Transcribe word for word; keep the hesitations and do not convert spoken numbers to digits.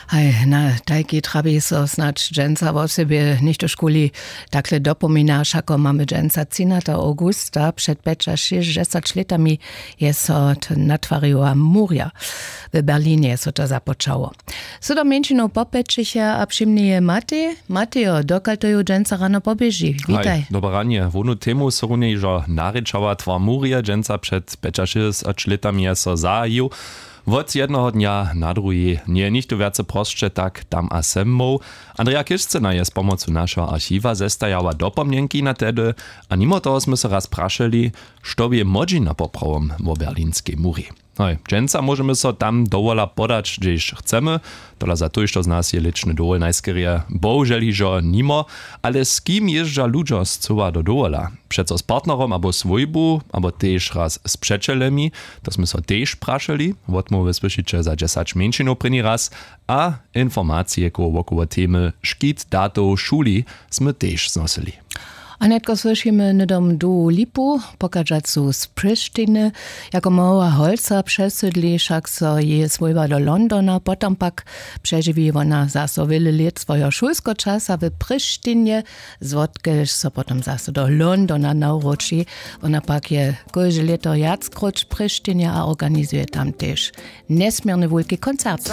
Haj, na tajki trabi so snadź dźensa wosebje něchtožkuli. Takle dopomina, wšako mamy dźensa třinata awgusta. Před pjećašěsćdźesać lětami je so to natwariła murja. W berlinje je so to započało. Sydom mjeńšinow popjećiche a přimnije matej matejo, dokal to ju dźensa rano poběži. Witaj. Dobre ranje. Wonu temu so runje hižo narěčała. Twar murje dźensa před pjećašěsćdźesać lětami je so zahajił. Wot jednoho dnja na druhi njeje nichtó wjace prosće tak tam a sem móhł. Andrea Kiršcena je z pomocu našeho archiwa zestajała dopomnjenki na tehdy. A nimo toho smy so raz prašeli, što bě młodźina poprawom wo berlinskej muri. Hoj, dźensa móžemy so tam dowola podać, hdźež chcemy. Tola za tójšto z nas je lěčny dowol najskerje bohužel hižo nimo. Ale z kim jězdźa ludźo scyła do dowola? Přeco z partnerom abo swójbu, abo tež raz z přećelemi? To smy so tež prašeli. Wotmołwy słyšiće za dźesać mjeńšinow prěni raz. A informacije koło wokoło temy škit datow w šuli smy tež znosyli. A nětko słyšimy hnydom dołu lipu, pochadźacu z Prištiny. Jako mała holca přesydli wšak so jeje swójba do Londona, potom pak přežiwi wona zaso wjele lět swojeho šulskeho časa w Prištinje, zwotkelž so potom zaso do Londona nawróći. Wona pak je kóžde lěto wjackróć w Prištinje a organizuje tam tež njesměrny wulki koncert.